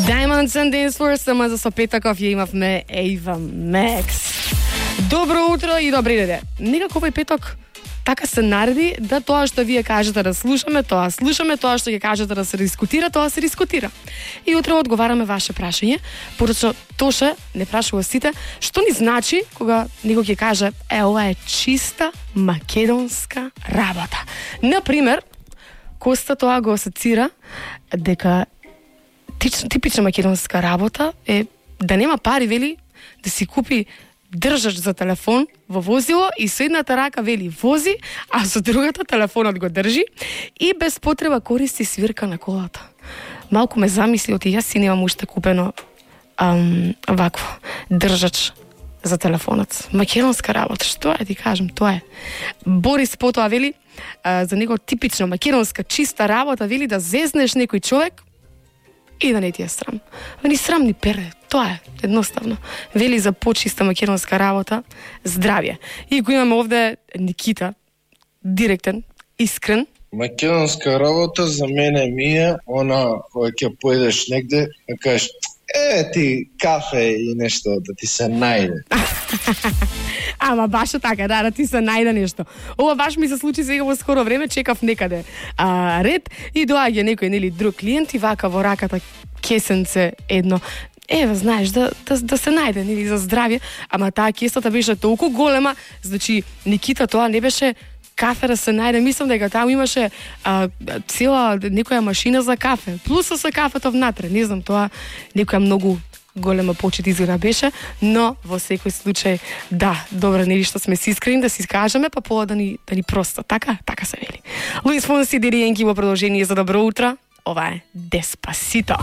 Diamonds and Dance Floor, само за сопетаков ја имавме Ava Max. Добро утро и добри неде. Некако овој петок така се нареди да тоа што вие кажете да слушаме, тоа слушаме, тоа што ќе кажете да се дискутира, тоа се дискутира. И утре одговараме ваше прашање, пораче Тоше не прашува сите, што ни значи кога некој ќе каже ова е чиста македонска работа. Например, Коста тоа го асоцира дека типична македонска работа е да нема пари, вели, да си купи држач за телефон во возило и со едната рака вели вози, а со другата телефонот го држи и без потреба користи свирка на колата. Малку ме замисли, оти јас си немам уште купено вакво држач за телефонот. Македонска работа, што е, ти кажам, тоа е. Борис потоа вели за него типична македонска чиста работа, вели да зезнеш некој човек и да не ти е срам. Ни срам ни перде, тоа е, едноставно. Вели за почиста македонска работа, здравје. И го имаме овде Никита, директен, искрен. Македонска работа за мене ми е она кога ќе поедеш негде, да кажеш ти кафе и нешто да ти се најде. Ама баш така, да ти се најде нешто. Ова баш ми се случи сега во скоро време, чекав некаде ред и доаѓа некој нели друг клиент и вака во раката кесенце едно. Ева, знаеш, да се најде нели за здравје, ама таа кесата беше толку голема, значи Никита тоа не беше кафе да се најде, мислам дека таму имаше цела некоја машина за кафе, плюс со кафето внатре, не знам, тоа некоја многу голема почит изгледа беше, но во секој случај, да, добро, нели што сме си искрени да си кажеме, па пола да ни проста, така се вели. Луис Фонси, Дириенки во продолжение за добро утро, ова е Деспасито.